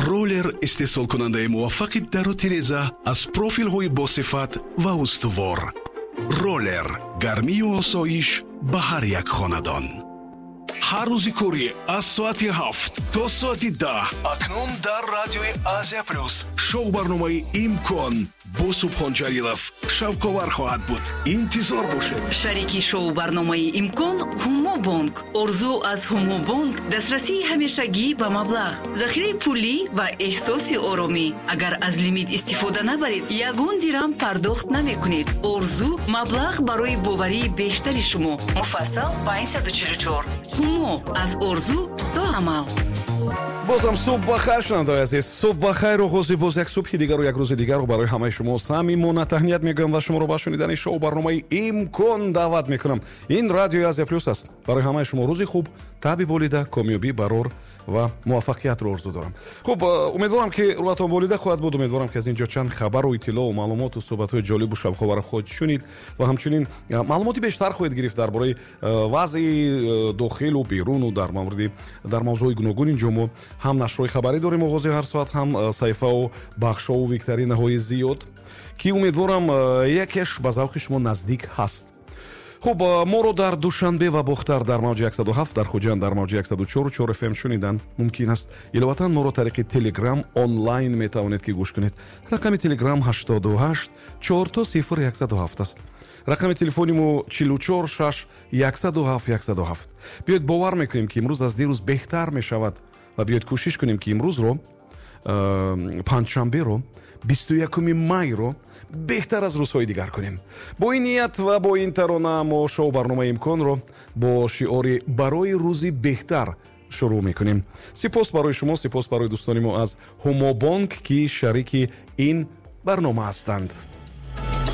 Роллер истеҳсолкунандаи муваффақи дару тиреза аз профилҳои босифат ва устувор. Роллер, гармию осоиш ба ҳар як хонадон. Ҳар рӯзи корӣ аз соати 7 то соати 10 акнун дар радиои Азия Плюс шоу барномаи «Имкон» бо Субҳон Ҷалилов шавқовар хоҳад буд. Интизор бошед. Шарики шоу барномаи «Имкон» Ҳумобонк. Орзу аз Ҳумобонк дастрасии ҳамешагӣ ба маблағ, захираи пулӣ ва эҳсоси оромӣ. Агар аз лимит истифода набаред, ягон дирам пардохт намекунед. Орзу, маблағ барои боварии бештари шумо. Муфассал 544. Ҳумо, аз орзу то амал. Бозам субҳ бахайр, шунавандаои азиз, субҳ бахайр. Оғози боз як субҳи дигару як рӯзи дигарро барои ҳамаи шумо самимона таҳният мегӯям ва шуморо ба шунидани шоу барномаи «Имкон» даъват мекунам. Ин радиои Азия Плюс аст. Барои ҳамаи шумо рӯзи хуб, таби болида, комёбӣ, барор ва муваффақиятро орзу дорам. Хуб, умедворам, ки рӯҳатон болида хоҳад буд. Умедворам, ки аз ин ҷо чанд хабару иттилоу маълумоту суҳбатҳои ҷолибу шавқоварро хоҳед шунид ва ҳамчунин маълумоти бештар хоҳед гирифт дар бораи вазъи дохилу беруну дар мавриди дар мавзӯъҳои гуногун. Инҷо мо ҳам нашрҳои хабарӣ дорем оғози ҳар соат, ҳам саҳифаву бахшову викторинаҳои зиёд, ки умедворам, якеш ба завқи шумо наздик ҳаст. Хуб, моро дар Душанбе ва Бохтар дар мавҷи 107, дар Хуҷанд дар мавҷи 104,4 фм шунидан мумкин аст. Иловатан, моро тариқи Телеграм онлайн метавонед, ки гӯш кунед. Рақами Телеграм 88 000 107 аст. Рақами телефони мо 44 6 107 107. Биёед, бовар мекунем, ки имрӯз аз дирӯз беҳтар мешавад, ва биёед, кӯшиш кунем, ки имрӯзро, панҷшанберо, 21 майро беҳтар аз рӯзҳои дигар кунем. Бо ин ният ва бо ин тарона мо шоу барномаи «Имконро» бо шиори «Барои рӯзи беҳтар» шурӯъ мекунем. Сипос барои шумо, сипос барои дӯстони мо аз Ҳумобонк, ки шарики ин барнома ҳастанд.